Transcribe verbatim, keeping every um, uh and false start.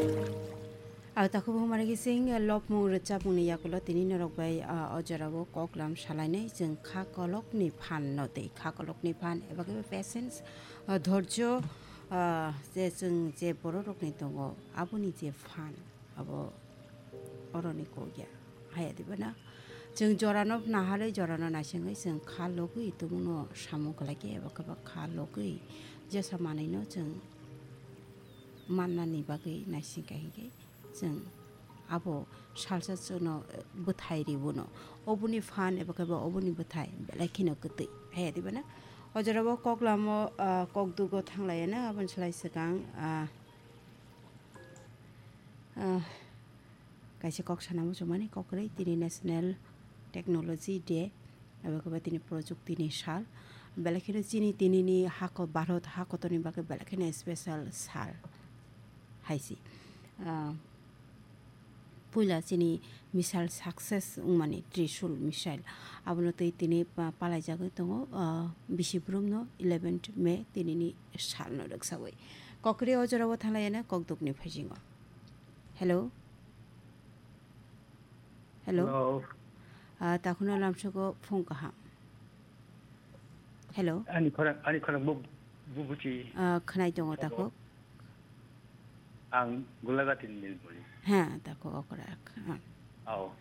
Ang takhuk bo humari kising lopmung rwchapmungni yakulo tini norok bai, ah, o jorao koklam salainai chwng kha kolokni phan no tei kha kolokni phan eba khe patience, ah, dhorjo, ah, je chwng je bororokni tongo aboni je phan abo oroni kok ya. Haya diba na? Chwng jorano naharwi jorano naisingwi chwng kha logwi tongmano samung khlai khe eba khe ba kha logwi jesa manwino chwng mannani bagwi naising kha hinkhe chwng abo salsa chwngno bwthai ribono. Oboni phan eba khe ba oboni bwthai belai kheno kwtwi. Haya diba na? O jorao koklamo, ah, kokdugo thanglaiya na aboni slai swkang, ah, ah, kaisa kok sana muchungmani kok kwrwi tini National Technology Day, abo khe ba tini Projukti ni sal. Belai kheno chini tini ni hako Bharat hakotorni bagwi belai kheno special sal hai se. Ah, puila chini missile success wngmani Trishul missile. Abono twi tini pa-, palaijagwi tongo, ah, bisi brumno eleventh May tini ni salno rwksawi. Kok kwrwi o jorao thanglaiya na kokdukni phaisingo. Hello? Hello? Hello. Ah, takhukno lamsogo phung kaham. Hello? Ani khorang, ani khorang bu, bu buchi. Ah, khwnai tongo. Hello. Takhuk. Ang Gulagati ni Nilmoni. Ha, takhuk okrak. Ah. Oh.